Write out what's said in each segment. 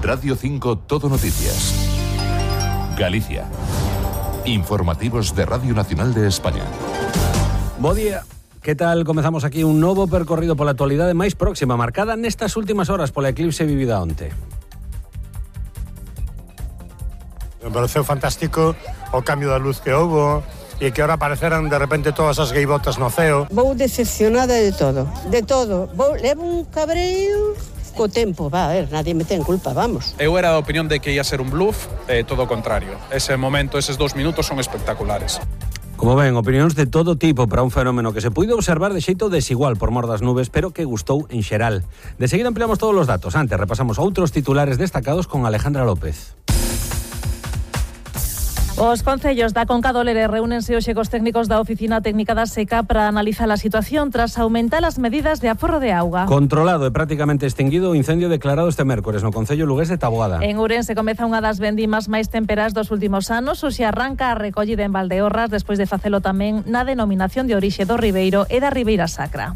Radio 5 Todo Noticias. Galicia. Informativos de Radio Nacional de España. Bo día. Que tal? Comezamos aquí un novo percorrido pola actualidade máis próxima, marcada nestas últimas horas pola eclipse vivida onte. Me pareceu fantástico o cambio da luz que houbo e que ahora apareceran de repente todas as gaivotas no ceo. Vou decepcionada de todo, levo un cabreo co tempo, a ver, nadie me ten culpa, vamos. Eu era da opinión de que ia ser un bluff, todo o contrario. Ese momento, eses 2 minutos son espectaculares. Como ven, opinións de todo tipo para un fenómeno que se puido observar de xeito desigual por mor das nubes, pero que gustou en xeral. De seguida ampliamos todos os datos. Antes repasamos outros titulares destacados con Alejandra López. Os concellos da Conca do Lere reúnense hoxe cos técnicos da Oficina Técnica da Seca para analizar a situación tras aumentar as medidas de aforro de auga. Controlado e prácticamente extinguido o incendio declarado este mércores no concello lugués de Taboada. En Ourense comeza unha das vendimas máis temperas dos últimos anos. Hoxe arranca a recollida en Valdeorras despois de facelo tamén na denominación de orixe do Ribeiro e da Ribeira Sacra.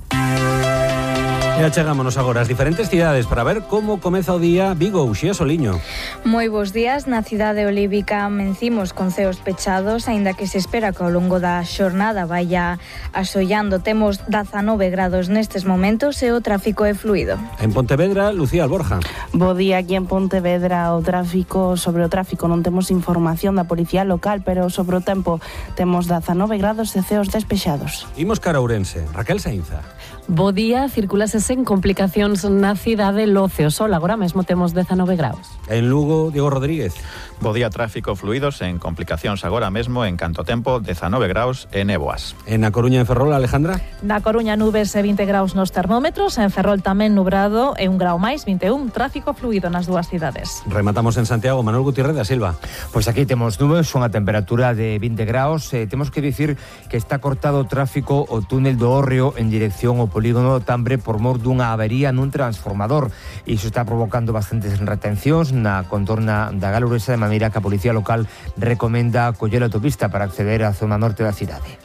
E achegámonos agora ás diferentes cidades para ver como comeza o día Vigo, Uxía Soliño. Moi bons días. Na cidade olívica amencimos con ceos pechados, aínda que se espera que ao longo da xornada vaya asollando. Temos 19 grados nestes momentos e o tráfico é fluido. En Pontevedra, Lucía Alborja. Bo día aquí en Pontevedra. Sobre o tráfico non temos información da policía local, pero sobre o tempo temos 19 grados e ceos despexados. Imos cara a Ourense. Raquel Sainza. Bo día, circulase sen complicacións na cidade Loce o Sol. Agora mesmo temos 19 graus. En Lugo, Diego Rodríguez. Bo día, tráfico fluido sen complicacións agora mesmo en canto tempo, 19 graus e néboas. En A Coruña, en Ferrol, Alejandra. Na Coruña, nubes e 20 graus nos termómetros. En Ferrol tamén nubrado e 1 grau máis, 21. Tráfico fluido nas dúas cidades. Rematamos en Santiago, Manuel Gutiérrez da Silva. Pois aquí temos nubes, unha temperatura de 20 graus. Temos que dicir que está cortado o tráfico o túnel do Hórreo en dirección ao polígono Tambre por mor dunha avería nun transformador. Iso está provocando bastantes retencións na contorna da Galuresa, de maneira que a Policía Local recomenda coller a autopista para acceder á zona norte da cidade.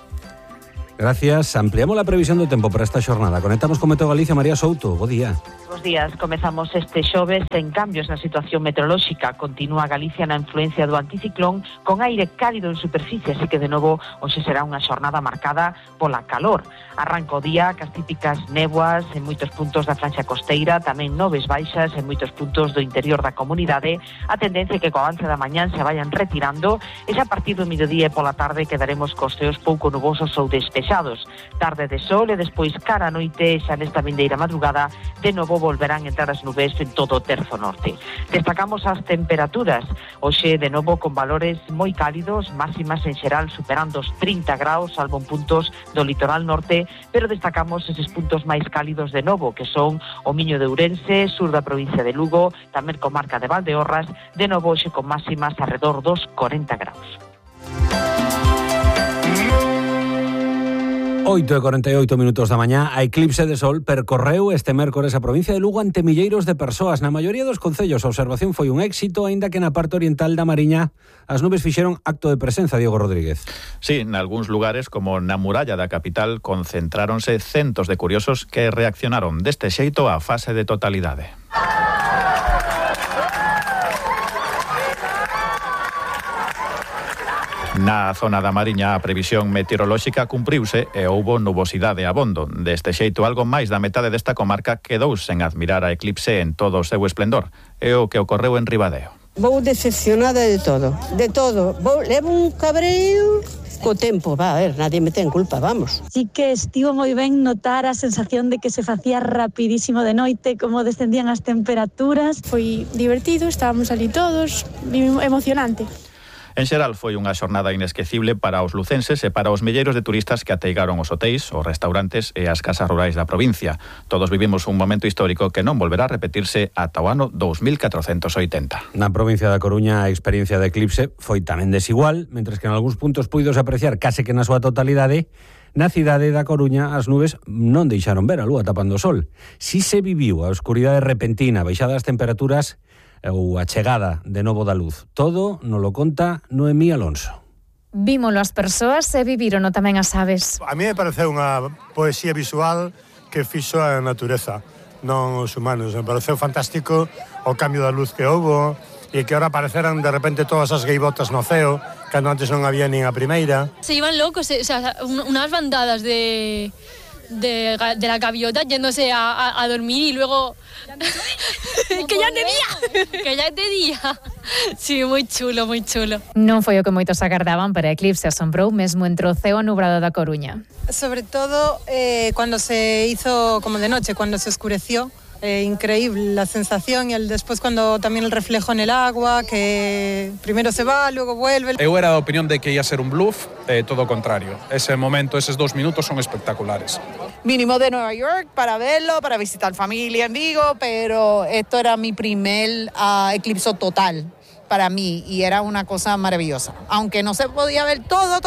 Gracias. Ampliamos la previsión do tempo para esta xornada. Conectamos con Meteo Galicia, María Souto. Bo día. Bos días. Comezamos este xoves en cambios na situación meteorolóxica. Continúa Galicia na influencia do anticiclón con aire cálido en superficie, así que de novo hoxe será unha xornada marcada pola calor. Arranca o día cas típicas néboas en moitos puntos da franxa costeira, tamén nubes baixas en moitos puntos do interior da comunidade. A tendencia é que co avance da mañán se vayan retirando e xa a partir do mediodía e pola tarde quedaremos cos ceos pouco nubosos ou despexados. Tarde de sol e despois cara a noite, xa nesta vindeira madrugada, de novo volverán entrar as nubes en todo o terzo norte. Destacamos as temperaturas. Hoxe de novo con valores moi cálidos, máximas en xeral superando os 30 graus, salvo en puntos do litoral norte, pero destacamos eses puntos máis cálidos de novo, que son o Miño de Ourense, sur da provincia de Lugo, tamén comarca de Valdeorras, de novo hoxe con máximas alrededor dos 40 graus. 8:48 minutos da mañá, a eclipse de sol percorreu este mércores a provincia de Lugo ante milleiros de persoas. Na maioría dos concellos a observación foi un éxito, aínda que na parte oriental da Mariña as nubes fixeron acto de presenza, Diego Rodríguez. Sí, nalgúns lugares, como na muralla da capital, concentráronse centos de curiosos que reaccionaron deste xeito á fase de totalidade. Na zona da Mariña a previsión meteorolóxica cumpriuse e houbo nubosidade abondo. Deste xeito, algo máis da metade desta comarca quedou sen admirar a eclipse en todo o seu esplendor. É o que ocorreu en Ribadeo. Vou decepcionada de todo. Levo un cabreo co tempo, a ver, nadie me ten culpa, vamos. Sí que estivo moi ben notar a sensación de que se facía rapidísimo de noite, como descendían as temperaturas. Foi divertido, estábamos ali todos, emocionante. En xeral foi unha xornada inesquecible para os lucenses e para os milleiros de turistas que ateigaron os hotéis, os restaurantes e as casas rurais da provincia. Todos vivimos un momento histórico que non volverá a repetirse ata o ano 2480. Na provincia da Coruña a experiencia de eclipse foi tamén desigual, mentres que en algúns puntos puidos apreciar case que na súa totalidade. Na cidade da Coruña as nubes non deixaron ver a lúa tapando o sol. Si se viviu a oscuridade repentina, baixada das temperaturas ou a chegada de novo da luz. Todo nos lo conta Noemí Alonso. Vímolo as persoas e vivírono tamén as aves. A mí me pareceu unha poesía visual que fixo a natureza. non os humanos. Me pareceu fantástico o cambio da luz que houbo e que ahora apareceran de repente todas as gaivotas no ceo, cando antes non había nin a primeira. Se iban locos, o sea, unas bandadas de la gaviota yéndose a dormir y luego... que ya de día! Que ya de día! Sí, moi chulo, moi chulo. Non foi o que moitos agardaban, pero a Eclipse asombrou mesmo entre o ceo nubrado da Coruña. Sobre todo cuando se hizo como de noche, cuando se oscureció. Increíble la sensación y después cuando también el reflejo en el agua, que primero se va, luego vuelve. Eu era da opinión de que ia ser un bluff, todo o contrario. Ese momento, esos 2 minutos son espectaculares. Vinimos de Nueva York para verlo, para visitar familia en Vigo, pero esto era mi primer eclipse total para mí y era una cosa maravillosa. Aunque no se podía ver todo.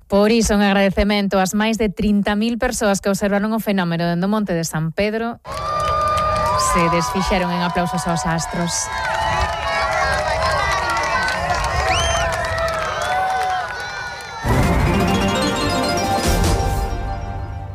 Por iso, un agradecemento ás máis de 30.000 persoas que observaron o fenómeno dende o Monte de San Pedro. Se desfixeron en aplausos aos astros.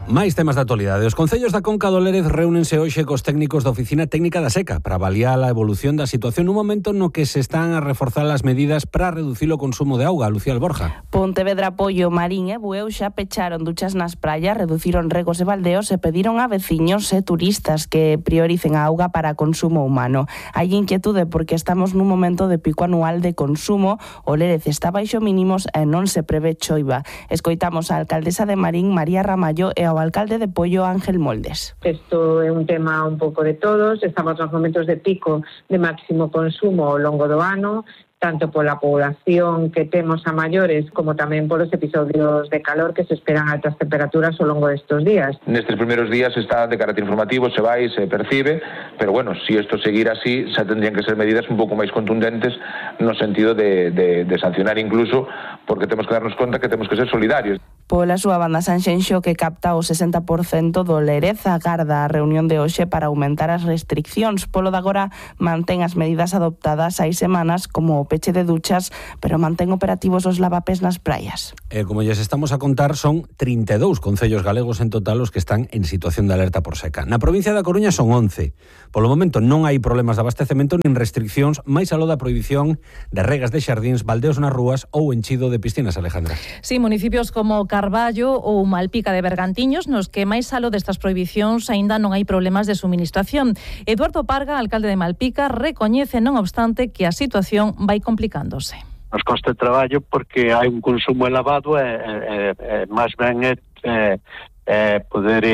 Máis temas da actualidade. Os concellos da Conca do Lérez reúnense hoxe cos técnicos da Oficina Técnica da Seca para avaliar a evolución da situación nun momento no que se están a reforzar as medidas para reducir o consumo de auga. Lucía Alborja. Pontevedra, Pollo, Marín e Bueu xa pecharon duchas nas praias, reduciron regos e baldeos e pediron a veciños e turistas que prioricen a auga para consumo humano. Hai inquietude porque estamos nun momento de pico anual de consumo, o Lérez está baixo mínimos e non se prevé choiva. Escoitamos a alcaldesa de Marín, María Ramallo, e ao alcalde de Pollo, Ángel Moldes. Isto é un tema un pouco de todos, estamos nos momentos de pico de máximo consumo ao longo do ano, tanto pola población que temos a maiores como tamén polos episodios de calor que se esperan altas temperaturas ao longo destes días. Nestes primeiros días está de carácter informativo, se vai, se percibe, pero bueno, si isto seguir así, xa tendrían que ser medidas un pouco máis contundentes no sentido de sancionar incluso, porque temos que darnos conta que temos que ser solidarios. Pola súa banda, Sanxenxo, que capta o 60% do Lérez, agarda a reunión de hoxe para aumentar as restriccións. Polo de agora mantén as medidas adoptadas hai semanas como o peche de duchas, pero mantén operativos os lavapés nas praias. Como lles estamos a contar, son 32 concellos galegos en total os que están en situación de alerta por seca. Na provincia da Coruña son 11. Polo momento non hai problemas de abastecemento nin restriccións, máis aló da prohibición de regas de xardíns, baldeos nas rúas ou enchido de piscinas, Alejandra. Sí, municipios como Carballo ou Malpica de Bergantiños, nos que máis aló destas prohibicións aínda non hai problemas de suministración. Eduardo Parga, alcalde de Malpica, recoñece, non obstante, que a situación vai complicándose. Nos costa de traballo porque hai un consumo elevado e máis ben poder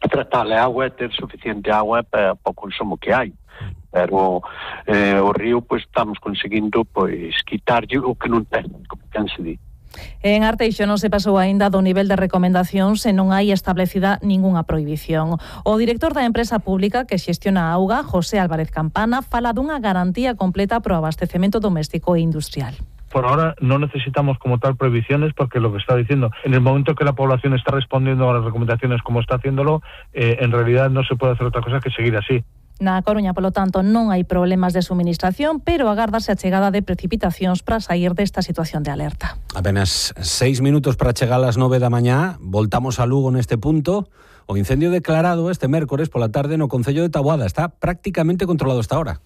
tratar a auga e ter suficiente auga para o consumo que hai. Pero o río pois estamos conseguindo pois quitarlle o que non ten, como ten se di. En Arteixo non se pasou aínda do nivel de recomendacións e non hai establecida ningunha prohibición. O director da empresa pública que xestiona a auga, José Álvarez Campana, fala dunha garantía completa pro abastecemento doméstico e industrial. Por ahora no necesitamos como tal prohibiciones porque lo que está diciendo, en el momento que la población está respondiendo a las recomendaciones como está haciéndolo, en realidad no se puede hacer otra cosa que seguir así. Na Coruña, polo tanto, non hai problemas de suministración, pero agárdase a chegada de precipitacións para sair desta situación de alerta. Apenas 6 minutos para chegar ás 9 da mañá, voltamos a Lugo neste punto. O incendio declarado este mércores pola tarde no concello de Taboada está prácticamente controlado hasta ahora.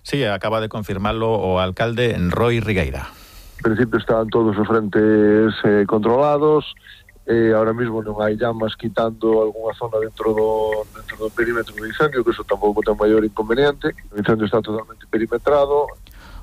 Sí, acaba de confirmarlo o alcalde Roy Rigueira. En principio estaban todos os frentes controlados. Ahora mismo non hai llamas quitando algunha zona dentro do perímetro do incendio, que eso tampouco ten maior inconveniente. O incendio está totalmente perimetrado.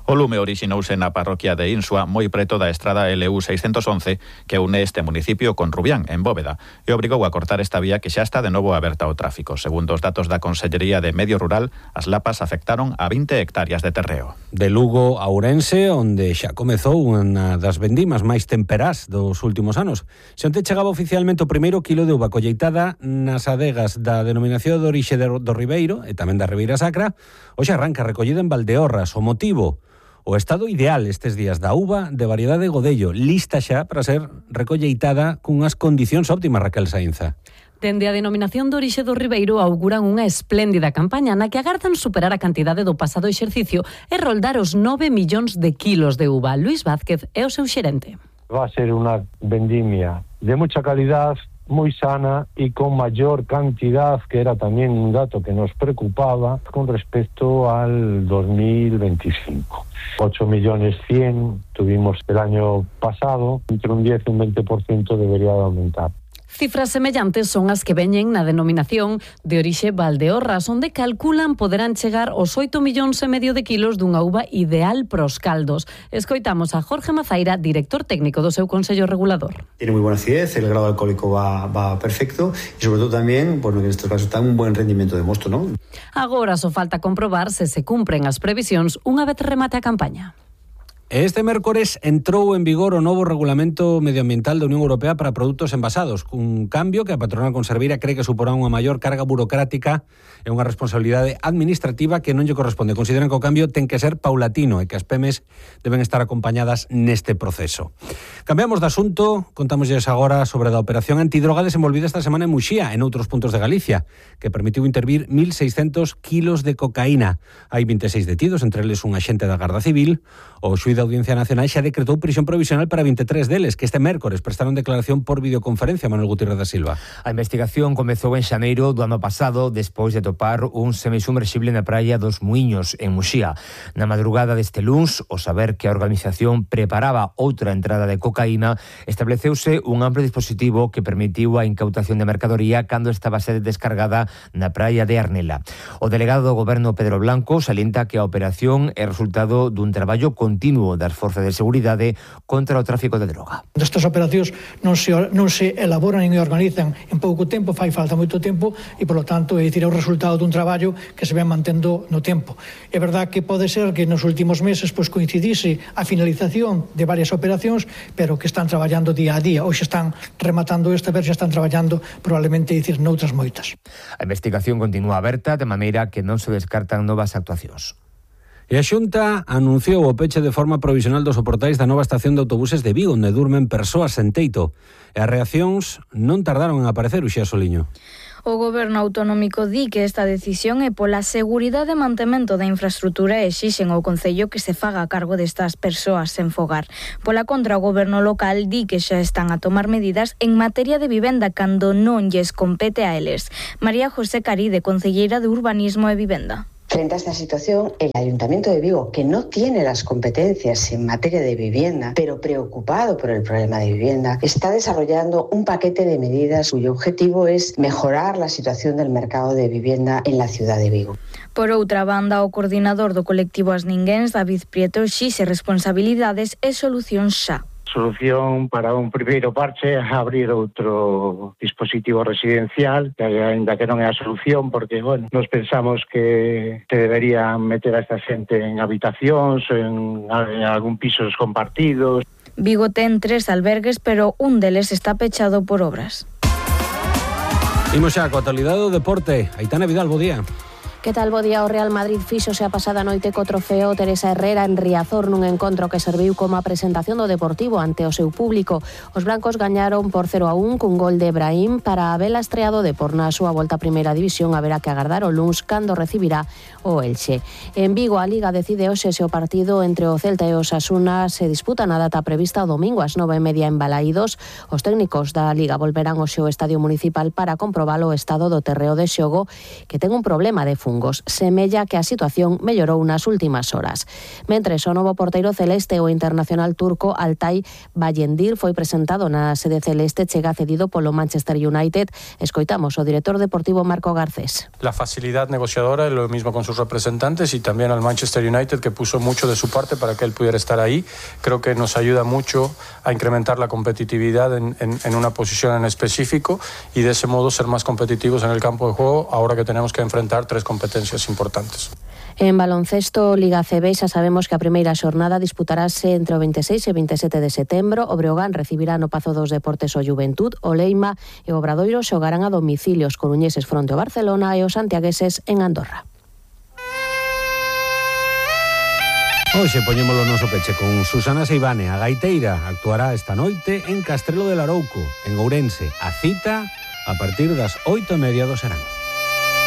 O lume orixinouse na parroquia de Insua, moi preto da estrada LU 611, que une este municipio con Rubián, en Bóveda, e obrigou a cortar esta vía que xa está de novo aberta ao tráfico. Segundo os datos da Consellería de Medio Rural, as lapas afectaron a 20 hectáreas de terreo. De Lugo a Ourense, onde xa comezou unha das vendimas máis temperás dos últimos anos. Se onte chegaba oficialmente o primeiro quilo de uva colleitada nas adegas da denominación de orixe do Ribeiro e tamén da Ribeira Sacra, hoxe arranca recollida en Valdeorras. O motivo: o estado ideal estes días da uva de variedade Godello, lista xa para ser recolleitada cunhas condicións óptimas, Raquel Sainza. Dende a denominación de orixe do Ribeiro auguran unha espléndida campaña na que agardan superar a cantidade do pasado exercicio e roldar os 9 millóns de kilos de uva. Luis Vázquez é o seu xerente. Va a ser unha vendimia de mucha calidad, muy sana y con mayor cantidad, que era también un dato que nos preocupaba con respecto al 2025. 8.100.000 tuvimos el año pasado, entre un 10 y un 20% debería de aumentar. Cifras semellantes son as que veñen na denominación de orixe Valdeorras, onde calculan poderán chegar aos 8,5 millóns de kilos dunha uva ideal pros caldos. Escoitamos a Jorge Mazaira, director técnico do seu Consello Regulador. Tiene muy buena acidez, el grado alcohólico va perfecto y sobre todo también, bueno, en estos casos está un buen rendimiento de mosto, ¿no? Agora só falta comprobar se cumpren as previsións unha vez remate a campaña. Este mércores entrou en vigor o novo Regulamento Medioambiental da Unión Europea para produtos envasados, un cambio que a patronal conserveira cree que suporá unha maior carga burocrática e unha responsabilidade administrativa que non lle corresponde. Consideran que o cambio ten que ser paulatino e que as PEMES deben estar acompañadas neste proceso. Cambiamos de asunto, contámoslles agora sobre a operación antidroga desenvolvida esta semana en Muxía, en outros puntos de Galicia, que permitiu intervir 1.600 kilos de cocaína. Hai 26 detidos, entre eles un axente da Garda Civil. O xuíz da Audiencia Nacional xa decretou prisión provisional para 23 deles, que este mércores prestaron declaración por videoconferencia. Manuel Gutiérrez da Silva. A investigación comezou en xaneiro do ano pasado, despois de topar un semisubmerxible na praia dos Muiños, en Muxía. Na madrugada deste luns, ao saber que a organización preparaba outra entrada de cocaína, estableceuse un amplo dispositivo que permitiu a incautación de mercadoría cando estaba sede descargada na praia de Arnela. O delegado do Goberno, Pedro Blanco, salienta que a operación é resultado dun traballo continuo das forzas de seguridade contra o tráfico de droga. Estas operacións non se elaboran e organizan en pouco tempo, fai falta moito tempo e, polo tanto, é o resultado dun traballo que se ven mantendo no tempo. É verdad que pode ser que nos últimos meses coincidise a finalización de varias operacións, pero que están traballando día a día. Hoxe están rematando esta vez, xa están traballando probablemente noutras moitas. A investigación continúa aberta, de maneira que non se descartan novas actuacións. E a Xunta anunciou o peche de forma provisional dos soportais da nova estación de autobuses de Vigo, onde durmen persoas sen teito. E as reaccións non tardaron en aparecer, Uxía Soliño. O Goberno autonómico di que esta decisión é pola seguridade e mantemento da infraestrutura e exixen ao Concello que se faga a cargo destas persoas sen fogar. Pola contra, o Goberno local di que xa están a tomar medidas en materia de vivenda cando non lles compete a eles. María José Caride, concelleira de Urbanismo e Vivenda. Frente a esta situación, el Ayuntamiento de Vigo, que no tiene las competencias en materia de vivienda, pero preocupado por el problema de vivienda, está desarrollando un paquete de medidas cuyo objetivo es mejorar la situación del mercado de vivienda en la ciudad de Vigo. Por outra banda, o coordinador do colectivo As Ninguéns, David Prieto, exixe responsabilidades e solucións xa. Solución para un primeiro parche é abrir outro dispositivo residencial, que ainda que non é a solución, porque, nos pensamos que se deberían meter a esta xente en habitacións, en algún pisos compartidos. Vigo ten 3 albergues, pero un deles está pechado por obras. Imos xa coa actualidade do deporte. Aitana Vidal, bo día. Que tal, bo día? O Real Madrid fíxose a pasada noite co trofeo Teresa Herrera en Riazor nun encontro que serviu como a presentación do Deportivo ante o seu público. Os blancos gañaron por 0-1 cun gol de Brahim para a vela estreado de por na súa volta a Primeira División. Haberá que agardar o luns cando recibirá o Elche. En Vigo, a Liga decide hoxe se o partido entre o Celta e o Osasuna se disputa na data prevista o domingo ás 9:30 en Balaídos. Os técnicos da Liga volverán hoxe ao Estadio Municipal para comprobar o estado do terreo de xogo, que ten un problema de fungos. Semella que a situación mellorou nas últimas horas. Mentres, o novo porteiro celeste, o internacional turco Altay Bayındır, foi presentado na sede celeste, chega cedido polo Manchester United. Escoitamos o director deportivo Marco Garcés. La facilidad negociadora, lo mismo con sus representantes y también al Manchester United, que puso mucho de su parte para que él pudiera estar ahí. Creo que nos ayuda mucho a incrementar la competitividad en una posición en específico y de ese modo ser más competitivos en el campo de juego ahora que tenemos que enfrentar 3 competencias importantes. En baloncesto, Liga CB, xa sabemos que a primeira xornada disputarase entre o 26 e 27 de setembro. O Breogán recibirá no Pazo dos Deportes o Juventud, o Leima e o Obradoiro xogarán a domicilio, os coruñeses fronte ao Barcelona e os santiagueses en Andorra. Hoxe poñémolo no noso peche con Susana Seivane, a gaiteira. Actuará esta noite en Castrelo de Larouco, en Ourense. A cita a partir das 8:30 do serán.